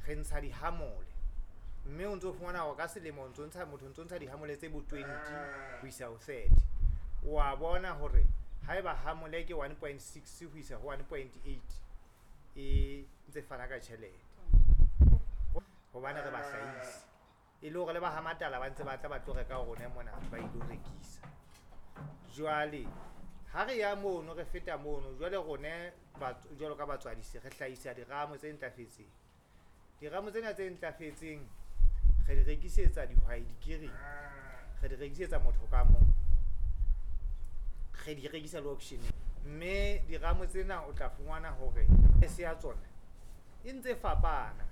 Re ntsha dihamole, mme o ntso fumana hore ka selemo o ntso ntsha, motho o ntso ntsha dihamole tse bo 20 ho isa ho 30. Wa bona hore haeba hamole ke 1.6 ho isa ho 1.8, e ntse fana ka tjhelete hobane re bahlahisi, e le hore le ba ha matala ba ntse ba tla ba tlo reka ho rona mona, ba ilo rekisa. Jwale ha re ya mono, re feta mono, jwale rone jwalo ka batswadisi re hlahisa diramo tse ntlafetseng. Diramo tsena tse ntlafetseng re di rekisetsa dihwai dikiring, re di rekisetsa motho ka mong, re di rekisa le auction-eng. Mme diramo tsena o tla fumana hore price ya tsona e ntse fapana.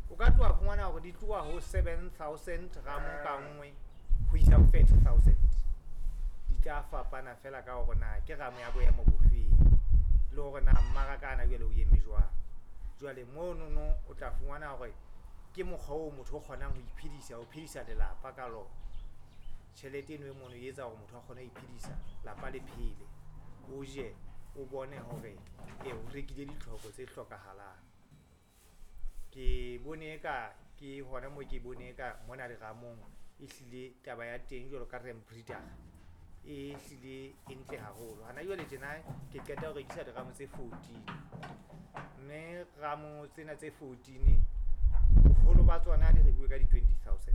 O ka tloha fumana hore di tloha ho 7000 ramo ka nngwe ho isa ho 30,000. Di tla fapana fela ka hore na ke ramo ya boemo bofeng, le hore na mmaraka hana jwale o eme jwang. Jwale monono o tla fumana hore ke mokgwa oo motho o kgonang ho iphedisa, ho phedisa lelapa ka lona. Tjhelete eno e mono e etsa hore motho a kgone ho iphedisa, lapa le phele, o je, o bone hore e o rekile ditlhoko tse hlokahalang. Ke bone eka ke hona moo, ke bone eka mona diramong ehlile taba ya teng jwalo ka ram breeder e hlile e ntle haholo. Hana jwale tjena ke qeta ho rekisa diramo tse 14, mme ramo tsena tse 14 boholo ba tsona di rekuwe ka di 20,000.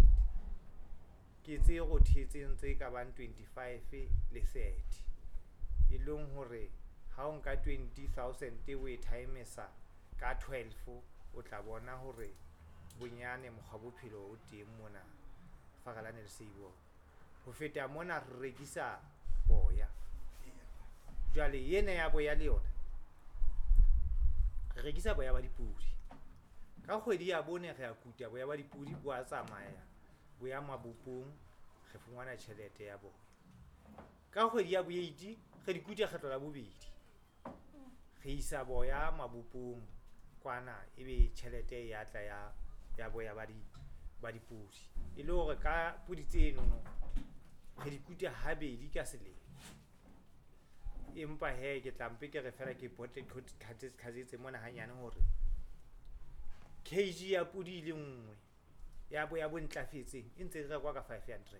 Ke tse rothetseng tse ka bang 25 le 30, e leng hore ha o nka 20,000 o e times-a ka 12, o tla bona hore bonyane mokgwa bophelo o teng mona Farelane le Seibolwa. Ho feta mona re rekisa boya. Jwale ena ya boya le yona re rekisa boya ba dipudi. Ka kgwedi ya bone re a kuta boya ba dipudi, bo a tsamaya bo ya mabopong, re fumana tjhelete ya boya. Ka kgwedi ya bo-eight re di kuta kgetlo la bobedi, re isa boya mabopong kwana, ebe tjhelete ya tla ya boya ba dipudi. E le hore ka pudi tsenono re di kuta habedi ka selemo. Empa hee ke tla mpe ke re fela ke pote qhatsetse mona hanyane hore kg ya pudi e le nngwe ya boya bo ntlafetseng e ntse e rekwa ka 500.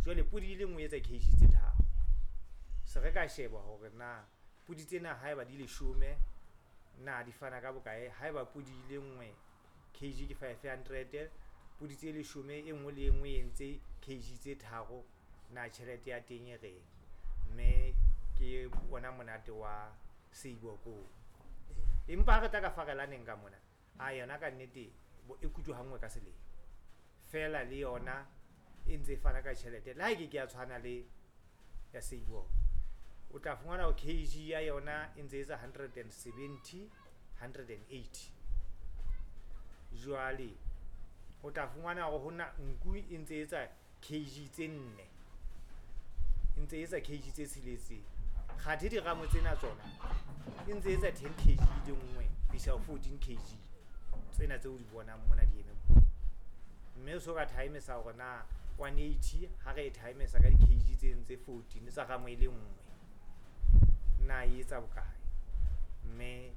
Jwale pudi e le nngwe e etsa kg tse tharo. Se re ka sheba hore na pudi tsena haeba di leshome na di fana ka bokae. Haeba pudi e le nngwe kg ke 500, pudi tse leshome e nngwe le e nngwe e entse kg tse tharo, na tjhelete ya teng e reng. Mme ke ona monate wa seiboko. Empa ha re tla ka Farelaneng ka mona, a yona ka nnete e kutwa ha nngwe ka selemo fela, le yona e ntse e fana ka tjhelete. Le ha e ke ke ya tshwana le ya Seiboko, o tla fumana hore kg ya yona e ntse etsa 170, 180. Jwale o tla fumana hore hona nku e ntse etsa kg tse nne, e ntse etsa kg tse tsheletseng. Kgathe diramo tsena tsona e ntse etsa 10 kg le nngwe ho isa ho 14 kg tsena tseo di bonang mona di eme mona. Mme o so ka times-a hore na 180 ha re e times-a ka di kg tse tse 14 tsa ramo e le nngwe, na e etsa bokae. Mme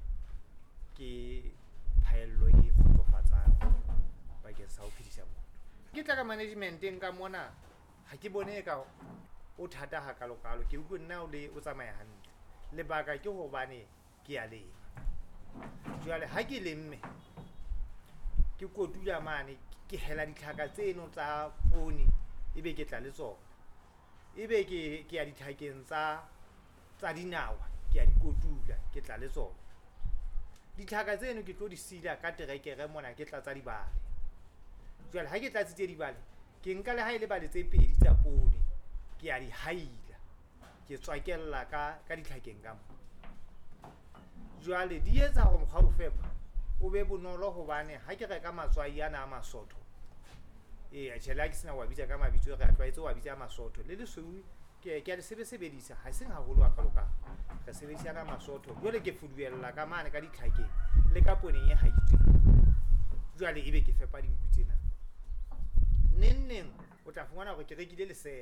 ke phaello e kgotsofatsang bakeng sa ho phedisa motho. Ke tla ka management-eng ka mona, ha ke bone eka o thata hakalo-kalo. Ke utlwe nna o le o tsamaya hantle. Lebaka ke hobane ke a lema. Jwale ha ke lemme, ke kotula mane, ke hela ditlhaka tseno tsa poone, ebe ke tla le tsona. Ebe ke ya ditlhakeng tsa dinawa, ke a di kotula, ke tla le tsona. Ditlhaka tseno ke tlo di sila ka terekere mona, ke tlatsa dibale. Jwale ha ke tlatsitse dibale, ke nka le ha e le bale tse pedi tsa poone, ke a di haila, ke tswakella ka ditlhakeng ka mo. Jwale di etsa hore mokgwa wa ho fepa o be bonolo, hobane ha ke reka matswai ana a masotho, eya tjhe, le ha ke sena wa bitsa ka mabitso, re a tlwaetse wa bitsa masotho le lesweu, ke a le sebedisa, ha seng haholo hakalo-kalo. Re sebedisa ana masotho. Jwale ke fuduella ka mane ka ditlhakeng le ka pooneng e haitsweng. Jwale ebe ke fepa dinku tsena. Neng neng o tla fumana hore ke rekile lesere.